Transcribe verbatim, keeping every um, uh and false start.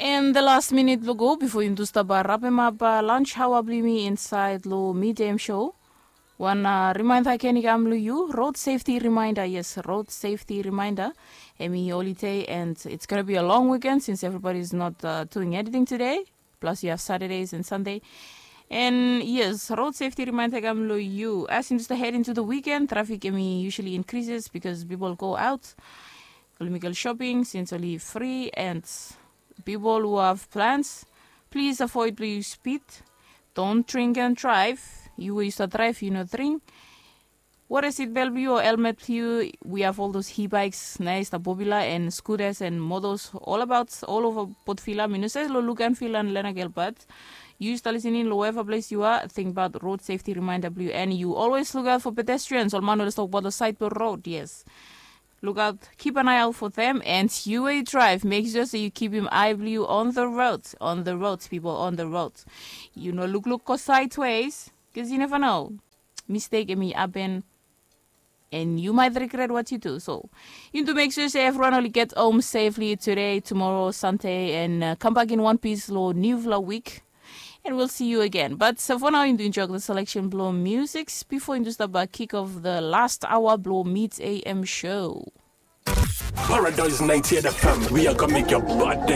And the last minute blong go before yumi tu stap rapem up lunch hawa blong yumi inside lo midem show. Wan reminder again i kam lo you, road safety reminder. Yes, road safety reminder. Emi holiday and it's gonna be a long weekend since everybody is not uh, doing anything today. Plus you have Saturdays and Sunday. And yes, road safety reminder kam lo you. As you just head into the weekend, traffic emi usually increases because people go out. Oli make shopping since oli free and people who have plans, please avoid blong you speed. Don't drink and drive. You wey you start drive, you no drink. Wear a seat belt blong you or helmet blong you. We have all those e-bikes, nice, the popular and scooters and models all about all over Port Vila. Mi no save lo look and feel and learn a girl, but you start listening lo wherever place you are. Think about road safety reminder blong you, and you always look out for pedestrians. Ol man always talk about the side of the road. Yes. Look out, keep an eye out for them, and you wey drive, make sure say you keep him eye blong you on the road, on the road, people, on the road. You no look look go sideways, cause you never know. Mistake emi happen, and you might regret what you do. So, you need to make sure say everyone only get home safely today, tomorrow, Sunday, and uh, come back in one piece lo new vlog week. And we'll see you again. But uh, for now, you need to enjoy the selection blong music before you start by kick off the last hour blong Meet A M show. Paradise ninety-eight F M, we are gonna make your body